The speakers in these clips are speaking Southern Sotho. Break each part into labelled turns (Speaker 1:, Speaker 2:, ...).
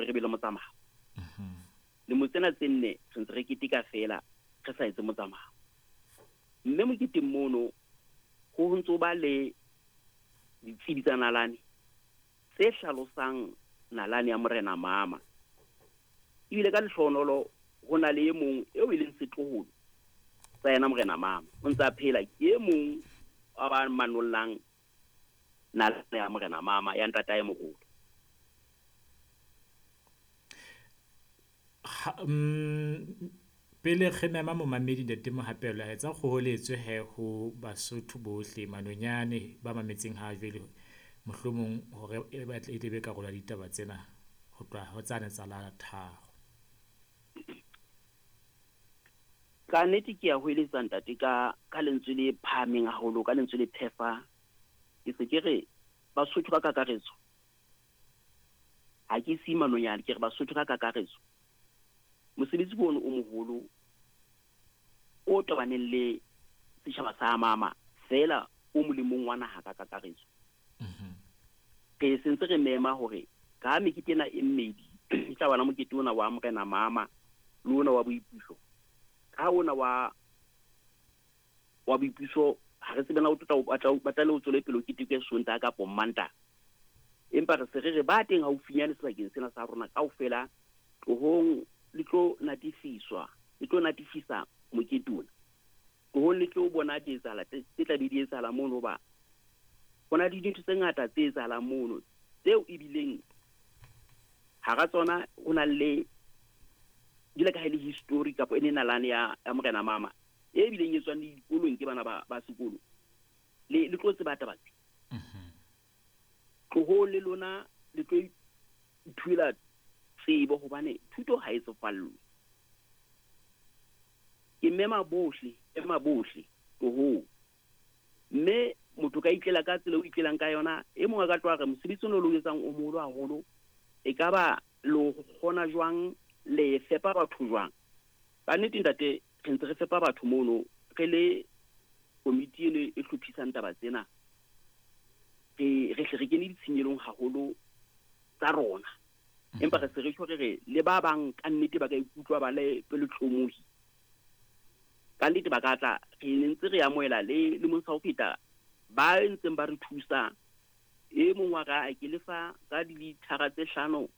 Speaker 1: hore re be le motsamao. Lemo tsena tse nne re ntse re keteka feela re sa etse motsamao. Mme moketeng mono ho ntso ba le ditsebi tsa nalane tse hlalosang nalane ya Morena Mama. Ebile ka lehlohonolo ho na le e mong eo e leng setloholo sa yena Morena Mama. O ntse a phela, ke e mong wa ba manollang nalane ya Morena Mama ya ntatae moholo.
Speaker 2: Pele re mema momamedi Ntate Mohapelo, a etsa kgoholetso he ho Basotho bohle manonyane ba mametseng ha jwale, mohlomong hore e batle e tle be karolo ya ditaba tsena ho tloha ho tsane tsa la 3.
Speaker 1: Ka nnete ke ya hoeletsa ntate ka lentswe le phahameng haholo, ka lentswe le phefa. Ke se ke re Basotho ka kakaretso, ha ke si manonyane, ke re Basotho ka kakaretso. Mosebetsi ke ono o moholo o tobaneng le setjhaba sa Mama feela o molemong wa naha ka kakaretso. Re sentse re mema hore ka mekete ena e mmedi, e tla bana mokete ona wa Morena Mama le ona wa boipuso. Ka ona wa boipuso ha re tsebe na o tla batla le o tswele pele o keteke Sontaha kapa Mantaha. Empa re se re re ba teng haufinyane sebakeng sena sa rona kaofela, tlohong le tlo natifiswa, le tlo natifisa mokete ona. Tlohong le tlo bona di etsahala tse tla be di etsahala mono, hoba ho na le dintho tse ngata tse etsahalang mono tseo ebileng hara tsona ho na le jwale ka ha e le history kapa e ne nalane ya Morena Mama e bileng e tswang le dikolong ke bana ba sekolo. Le tlo tseba taba tse. Tlohong le lona le tlo ithuela tsebo, hobane thuto ha e tsofallwe. Ke mema bohle, ema bohle tlohong. Mme motho ka itlela ka tsela o itlelang ka yona, e mong a ka tloha re mosebetsi ono lo etsang o moholo haholo, e ka ba lo kgona jwang, le fepa batho jwang? Ka nnete ntate, re ntse re fepa batho mono, re le komiti eno e hlophisang taba tsena. Re hle re kene ditshenyelong haholo tsa rona. Empa re se re tjho re re le ba bang ka nnete ba ka ikutlwa ba le pelotlomohi. Ka nnete ba ka tla, re ntse re amohela le lemong sa ho feta ba ntseng ba re thusa. E mong wa ka ke lefa ka dilithara tse 5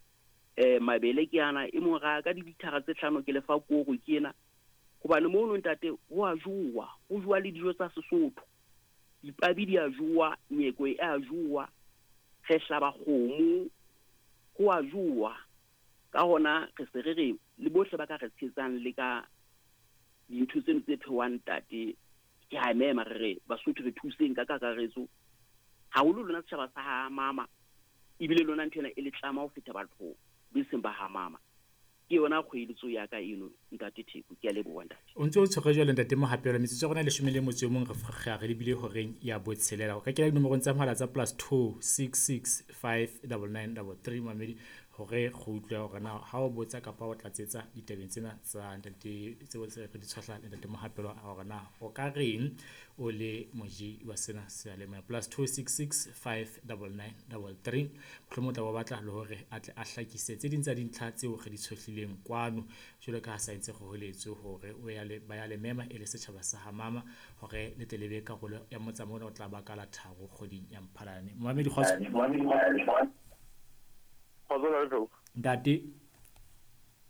Speaker 1: mabele ke ana, e mong ra ka dilithara tse 5 ke lefa koro ke ena. Hobane mono ntate ho a jowa, ho jowa le dijo tsa Sesotho. Dipabi di a jowa, nyeko e a jowa, re hlaba kgomo, ho a jowa. Ka hona re se re re le bohle ba ka re tshetsang le ka dintho tseno tse phehwang ntate, ke a mema re re Basotho re thuseng ka kakaretso. Haholo lona setjhaba sa ha Mama, ebile lona ntho ena e le tlama ho feta batho be seng ba ha Mama. Ke yona kgoeletso ya ka eno ntate Theko, ke a leboha ntate.
Speaker 2: O ntse o tshwere jwale ntate Mohapelo, metsotso ya rona e 11, re lebile horeng ya 6. O ka kena dinomorong tsa mohala tsa +2 66 5 99 33 mamedi, hore re utlwe hore na ha o botsa kapa o tlatsetsa ditabeng tsena tsa ntate tseo re di tshwahla le ntate Mohapelo, hore na o ka reng o le moji wa sena seyalemoya. +2 66 5 99 33. Mohlomong o tla ba batla le hore a tle a hlakise tse ding tsa dintlha tseo re di tshohlileng kwano, jwalo ka ha sa ntse kgoholetso hore o ya le ba ya le mema e le setjhaba sa ha Mama hore le tle le be karolo ya motsamao ona o tla ba ka la 3 kgweding ya Mphalane. Momamedi kgotso.
Speaker 3: Kgotso.
Speaker 2: Ntate.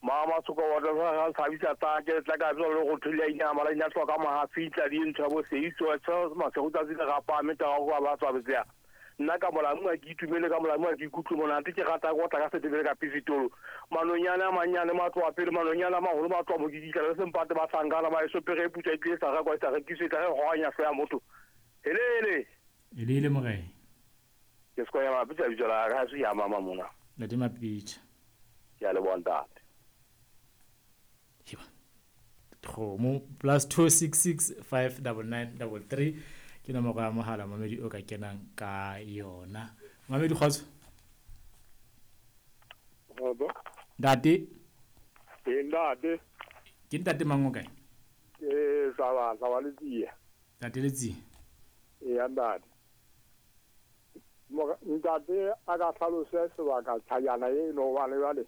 Speaker 3: Mama tsoko wa tla ga tshabisa tsa ke tla ka tswa le go thulia ina mala ina tloka ma fitla di ntho bo se itso tsa masego tsa tsi ga pa me ta go ba tswa betsa. Nna ka molamu a ke itumele, ka molamu a ke ikutlwe monate, ke rata go tla ka setebele ka pisitolo. Manonyana a manyane matlo a pele, manonyana a maholo matlo a mokikitla le sempate ba hlankana ba eso pere putsa e tlile sa ga kwa sa rekiswe tla re goanya hlo ya motho. Helele.
Speaker 2: Helele morena.
Speaker 3: Ke se ya mapitsa bitso la ga se ya mama mona.
Speaker 2: Ntate Mapitsa.
Speaker 3: Ke a leboha ntate.
Speaker 2: Kgomo +2 66 5 99 33 ke nomoro ya mohala mamedi o ka kenang ka yona. Mamedi kgotso.
Speaker 3: Kgotso.
Speaker 2: Ntate.
Speaker 3: Ke ntate.
Speaker 2: Ke ntate mang o kae?
Speaker 3: Ke Saba Letsie.
Speaker 2: Ntate Letsie.
Speaker 3: Ee ntate. Ntate a ka hlalose sebaka tshajana eno hobane jwale